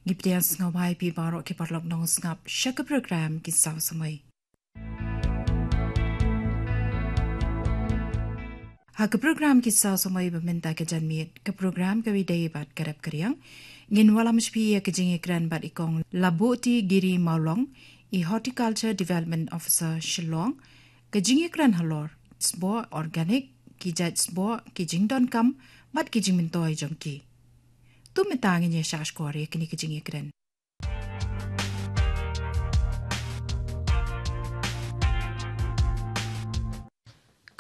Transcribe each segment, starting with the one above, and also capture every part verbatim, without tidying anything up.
Ngi pdiang sngewbha ïa phi baroh ki paralok nongsngap sha ka program Ki Saw Samoi. Ha ka program Ki Saw Samoi ba mynta ka janmiet, ka program kaba ïadei bad ka rep ka riang, ngin wallam sha phi ïa ka jingïakren bad i Kong Labuti Giri Mawlong, i Horticulture Development Officer Shillong, ka jingïakren halor sboh organic, ki jait sboh, ki jingdonkam bad ki jingmyntoi jong ki. To mynta ngin ïa shah shkor ïa kine ki jingïakren.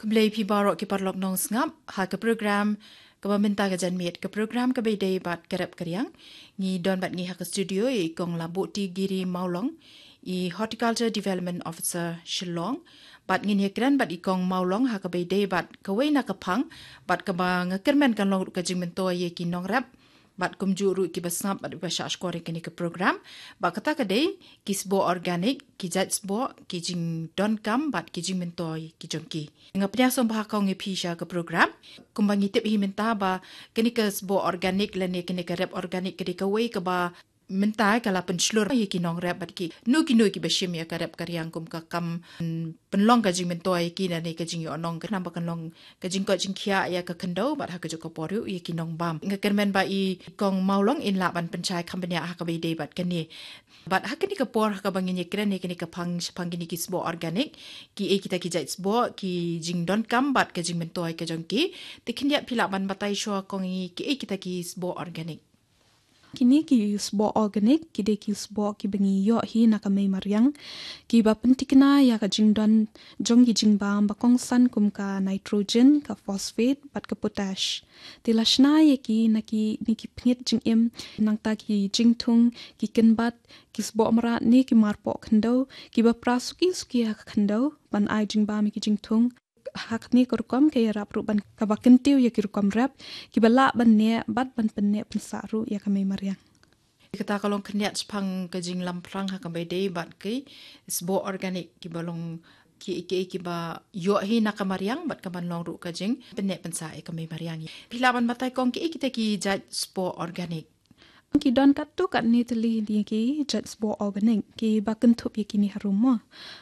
Khublei phi baroh ki paralok nongsngap ha ka program kaba mynta ka janmiet, ka program kaba ïadei bad ka rep ka riang. Ngi don bad ngi ha ka studio ïa i Kong Labuti Giri Mawlong, i Horticulture Development Officer Shillong. Bad ngin ïakren bad i Kong Mawlong ha kaba ïadei bad kawei na ka phang bad kaba nga kyrmen kan long ruh ka jingmyntoi ïa ki nongrep bad kumjuh ruh kiba sngap bad ba shah shkor ïa kane ka program. Bad kata ka dei ki sboh organic, ki jait sboh, ki jingdonkam bad ki jingmyntoi ki jong ki. Nga pdiang sngewbha ïa phi sha ka program. Kumba ngi tip hi mynta ba kane ka sboh organic lane kane ka rep organic ka dei kawei kaba mynta ka la pynshlur ïa ki nongrep bad kino kino kiba shim ïa ka rep ka riang kum ka kam, mm, pynlong ka jingmyntoi ïa ki lane ka jingïohnong, ka namar ba kan long ka jingkoit jingkhiah ïa ka khyndew bad ha kajuh ka por ruh ïa ki nongbam. Nga kyrmen ba i Kong Mawlong in lah ban pynshai kham bniah ha kaba ïadei bad kane. Bad ha kane ka por ha kaba ngin ïakren ïa kane ka phang shaphang kine ki sboh organic, kiei kita ki jait sboh, ki jingdonkam bad ka jingmyntoi ka jong ki. Te khyndiat phi lah ban batai shuwa Kong ïa ngi kiei kita ki sboh organic. Kine ki sboh organic ki dei ki sboh kiba ngi ïoh hi na ka mei mariang, kiba pynthikna ïa ka jingdon jong ki jingbam ba kongsan kum ka nitrogen, ka phosphate bad ka potash. Te la shna ïa ki na kine ki pngit jingim, nangta ki jingthung, ki kynbat, ki sboh mrad ne ki marpoh khyndew, kiba pra suki suki ha ka khyndew ban ai jingbam ïa ki jingthung. Ha kane ka rukom ka ïarap ruh ban kaba kyntiew ïa ki rukom rep kiba lah ban neh bad ban pynneh pynsah ruh ïa ka mei mariang. Kata ka long khyndiat shaphang ka jinglamphrang ha kaba ïadei bad ki sboh organic kiba long kiei kiei kiba ïoh hi na ka mariang bad ka ban long ruh ka jingpynneh pynsah ïa ka mei mariang. Phi lah ban batai Kong kiei kita ki jait sboh organic? Ki don katto katne tylli ki jait sboh organic kiba kynthup ïa kine harum mo.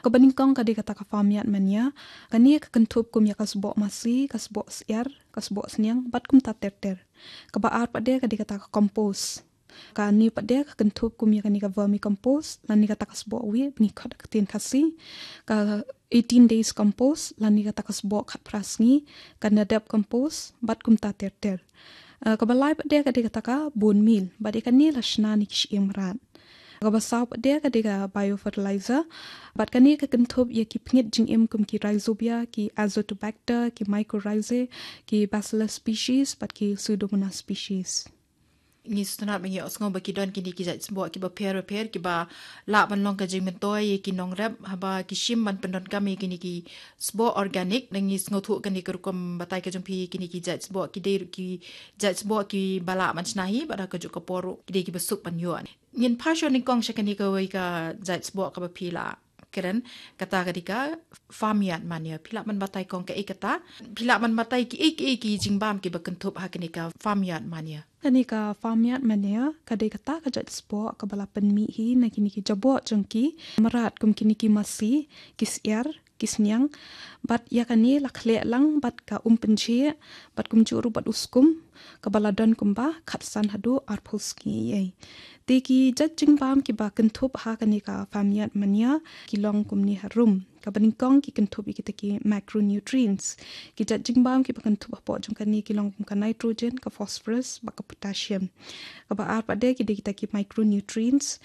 Kaba nyngkong ka dei kata ka farmyard manure. Kane ka kynthup kum ïa ka sboh masi, ka sboh syiar, ka sboh sniang bad kumta ter ter. Kaba ar pat de ka dei kata ka compost. Kane pat de ka kynthup kum ïa kane ka vermicompost lane kata ka sboh wieh ba ngi khot ha ka ktien Khasi, ka eighteen days compost lane kata ka sboh khatphra sngi, ka Nadeb compost bad kumta ter ter. Eh, kaba lai pat de ka dei kata ka bone meal, bad ïa kane la shna na ki shyieng mrad. Kaba saw pat de ka dei ka biofertilizer, bad kane ka kynthup ïa ki pngit jingim kum ki rhizobia, ki azotobacter, ki mycorrhizae, ki bacillus species bad ki pseudomonas species. Ngi sngewtynnat ba ngi ïohsngew ba ki don kine ki jait sboh kiba pher ba pher kiba lah ban long ka jingmyntoi ïa ki nongrep haba ki shim ban pyndonkam ïa kine ki sboh organic. Ngi sngewthuh kane ka rukom batai ka jong phi, kine ki jait sboh ki dei ruh ki jait sboh kiba lah ban shna hi bad ha kajuh ka por ruh ki dei kiba suk ban ïoh. Ngin phai shuwa nyngkong sha kane kawei ka jait sboh kaba phi la kren, kata ka dei ka farmyard manure. Phi lah ban batai Kong kaei kata? Phi lah ban batai kiei kiei ki jingbam kiba kynthup ha kane ka farmyard manure? Kane ka farmyard manure ka dei kata ka jait sboh kaba la pynmih hi na kine ki jaboh jong ki mrad kum kine ki masi, ki syiar, ki sniang, bad ïa kane la khleh lang bad ka um pynjhieh bad kumjuh ruh bad u skum kaba la don kumba khatsan haduh arphew sngi ei. Te ki jait jingbam kiba kynthup ha kane ka farmyard manure ki long kumne harum. Kaba nyngkong ki kynthup ïa kita ki macronutrients. Ki jait jingbam kiba kynthup hapoh jong kane ki long kum ka nitrogen, ka phosphorus bad ka potassium. Kaba ar pat de ki dei kita ki micronutrients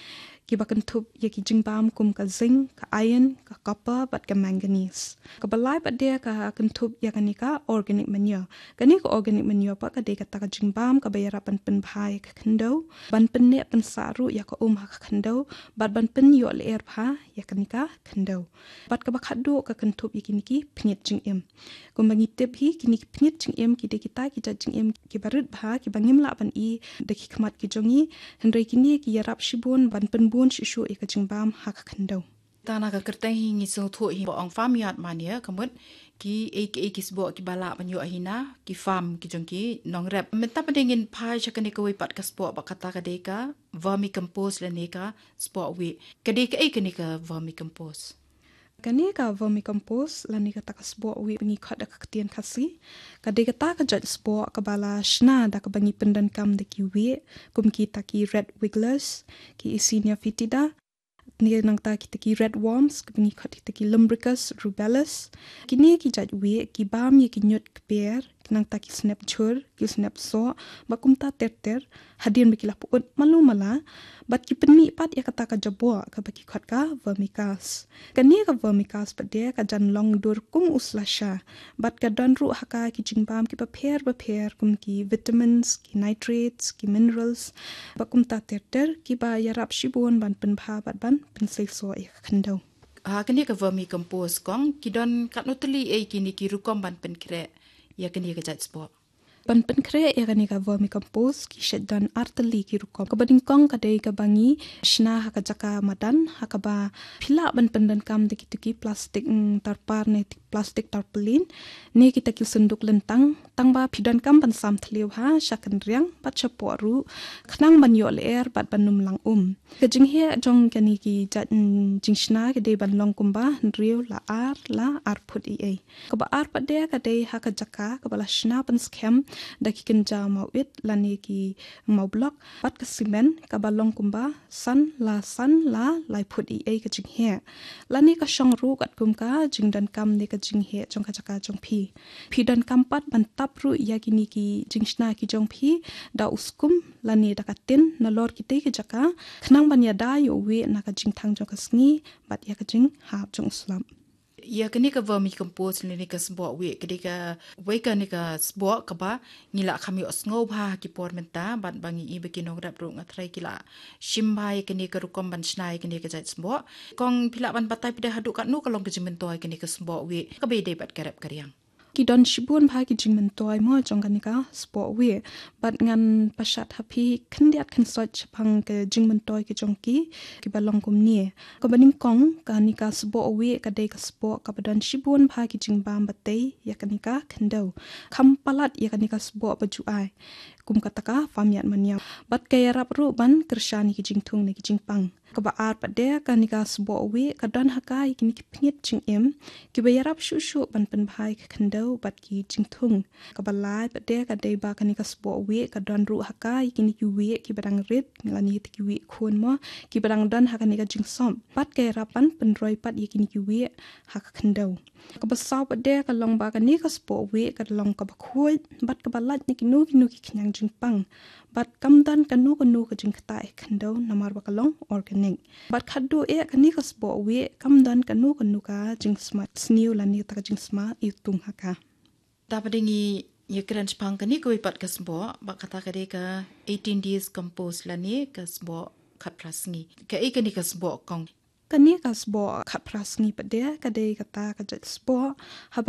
kiba kynthup ïa ki jingbam kum ka zinc, ka iron, ka copper bad ka manganese. Kaba lai pat de ka kynthup ïa kane ka organic manure. Kane ka organic manure pat ka dei kata ka jingbam kaba ïarap ban pynbha ïa ka khyndew, ban pynneh pynsah ruh ïa ka um ha ka khyndew bad ban pynïoh lyer bha ïa kane ka khyndew. Bad kaba khatduh ka kynthup ïa kine ki pngit jingim. Kumba ngi tip hi, kine ki pngit jingim ki dei kita ki jait jingim kiba rit bha kiba ngim lah ban i da ki khmat ki jong ngi, hynrei kine ki ïarap shibun ban pynbun shuh shuh ïa ka jingbam ha ka khyndew. Tang na ka kyrteng hi ngi sngewthuh hi ba ong farmyard manure, ka mut ki ei ki ei ki sboh kiba lah ban ïoh hina ki farm ki jong ki nongrep. Mynta pat ngin phai sha kane kawei pat ka sboh ba kata ka dei ka vermicompost lane ka sboh wieh. Ka dei kaei kane ka vermicompost? Kane ka vermicompost lane kata ka sboh wieh ba ngi khot da ka ktien Khasi, ka dei kata ka jait sboh kaba la shna da kaba ngi pyndonkam da ki wieh, kum kita ki red wigglers, ki Eisenia fetida, ne nangta kita ki red worms, kaba ngi khot kita ki Lumbricus rubellus. Kine ki jait wieh ki bam ïa ki ñiut kper, nangta ki snep jhur, ki snep soh, bad kumta ter ter, hadien ba ki la pyut malu mala, bad ki pynmih pat ïa kata ka jaboh kaba ki khot ka vermicast. Kane ka vermicast pat de ka jan long dur kum u slasha, bad ka don ruh ha ka ki jingbam kiba pher ba pher, kum ki vitamins, ki nitrates, ki minerals, bad kumta ter ter, kiba ïarap shibun ban pynbha bad ban pynseisoh ïa ka khyndew. Ha kane ka vermicompost kong, ki don katno tylli ei kine ki rukom ban pynkhreh ïa kane ka jait sboh? Ban pynkhreh ïa kane ka vermicompost ki shait don ar tylli ki rukom. Kaba nyngkong ka dei kaba ngi shna ha ka jaka madan, ha kaba phi lah ban pyndonkam da kito ki plastik, mm, tarpar ne plastik tarpaulin, ne kita ki synduk lyntang, tang ba phi donkam ban sam thliew ha sha kynriang bad shapoh ruh, khnang ban ïoh lyer bad ban ym lang um. Ka jingheh jong kane ki jait, mm, jingshna ka dei ban long kumba hynriew la ar la ar phut ei ei. Kaba ar pat de ka dei ha ka jaka kaba la shna pynskhem da ki kynja mawit lane ki mawblok bad ka simen, kaba long kumba san la san la lai phut ei ei ka jingheh. Lane ka shong ruh katkum ka jingdonkam ne ka jingheh jong ka jaka jong phi. Phi donkam pat ban tap ruh ïa kine ki jingshna ki jong phi da u skum lane da ka tin nalor kitei ki jaka, khnang ban ïada ïa u wieh na ka jingthang jong ka sngi bad ïa ka jinghap jong u slap. Ïa kane ka vermicompost lane ka sboh wieh ka dei kawei kane ka sboh kaba ngi lah kham ïohsngew bha ha ki por mynta, bad ba ngi i ba ki nongrep ruh nga tharai ki lah shim bha ïa kane ka rukom ban shna ïa kane ka jait sboh. Kong, phi lah ban batai pat de haduh katno ka long ka jingmyntoi kane ka sboh wieh kaba ïadei bad ka rep ka riang? Ki don shibun bha ki jingmyntoi mo jong kane ka sboh wieh, bad ngan pynshad ha phi khyndiat khynsoit shaphang ka jingmyntoi ki jong ki, kiba long kumne. Kaba nyngkong, kane ka sboh wieh ka dei ka sboh kaba don shibun bha ki jingbam ba tei ïa kane ka khyndew. Kham palat ïa kane ka sboh ba ju ai, kum kata ka farmyard manure. Bad ka ïarap ruh ban kyrshan ïa ki jingthung ne ki jingpang. Kaba ar pat de, kane ka sboh wieh ka don ha ka ïa kine ki pynïit jingim kiba ïarap shuh shuh ban pynbha ïa ka khyndew bad ki jingthung. Kaba lai pat de ka dei ba kane ka sboh wieh ka don ruh ha ka ïa kine ki wieh kiba dang rit, lane kita ki wieh khun mo, kiba dang don ha kane ka jingsop. Bad ka ïarap ban pynroi pat ïa kine ki wieh ha ka khyndew. Kaba saw pat de ka long ba kane ka sboh wieh ka long kaba khuid bad kaba lait na kino kino ki khñiang jingpang. Bad kam don kano kano ka jingktah ïa ka khyndew namar ba ka long organic. Bad khatduh eh kane ka sboh wieh kam don kano kano ka jingsma sniew lane kata ka jingsma iwtung ha ka. Te pat de ngi ïakren shaphang kane kawei pat ka sboh, ba kata ka dei ka eighteen days compost lane ka sboh khatphra sngi. Kaei kane ka sboh, Kong? Kane ka sboh khatphra sngi pat de ka dei kata ka jait sboh haba